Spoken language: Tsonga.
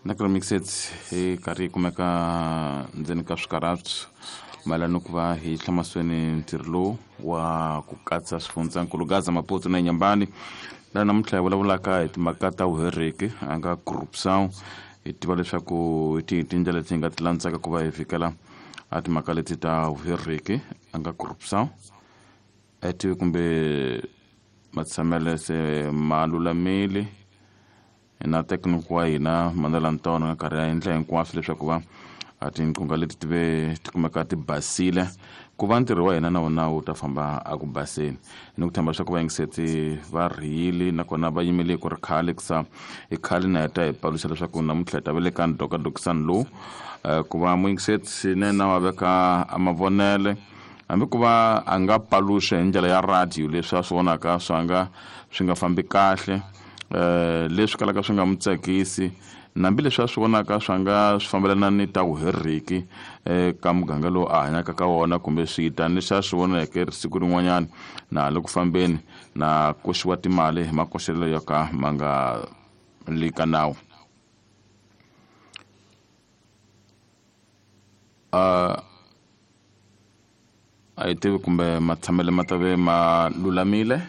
Na ku mixets hi karhi hi kumeka ndzeni ka swikarhato mayelana ni ku va hi hlamasweni ntirho lowu wa ku katsa swifundzankulu Gaza, Maputo na Nyambani, laha namuntlha hi vulavulaka hi timhaka ta vuheriki a nga corruption. Hi tiva leswaku hi tihi tindlela leti hi nga ti landzaka ku va hi fikela a timhaka leti ta vuheriki a nga corruption. A hi tivi kumbe matshamele se ma lulamile na thekiniki wa hina Mandela Ntono nga karhi a endla hinkwaswo leswaku va a tinqungha leti ti ve ti kumeka ti basile, ku va ntirho wa hina na wona wu ta famba a ku baseni. Ni ku tshemba leswaku vayingiseti va rhiyile nakona va yimele ku ri khale kusa i khale na heta hi paluxa leswaku namuntlha hi ta ve le ka ndokadokisani lowu, ku va muyingiseti swinene wa veka a mavonele, hambi ku va a nga paluxa hi ndlela ya radio leswi a swi vonaka swa nga swi nga fambi kahle, leswi kalaka swi nga n'wi tsakisi, nambi leswi a swi vonaka swa nga swi fambelana ni ta vuheriki ka muganga lowu a hanyaka ka wona, kumbe switani leswi a swi voneke siku rin'wanyana na ha le ku fambeni na koxiwa timali hi makoxelo yo ka ma nga li ka nawu. A hi tivi kumbe matshamele ma ta ve ma lulamile.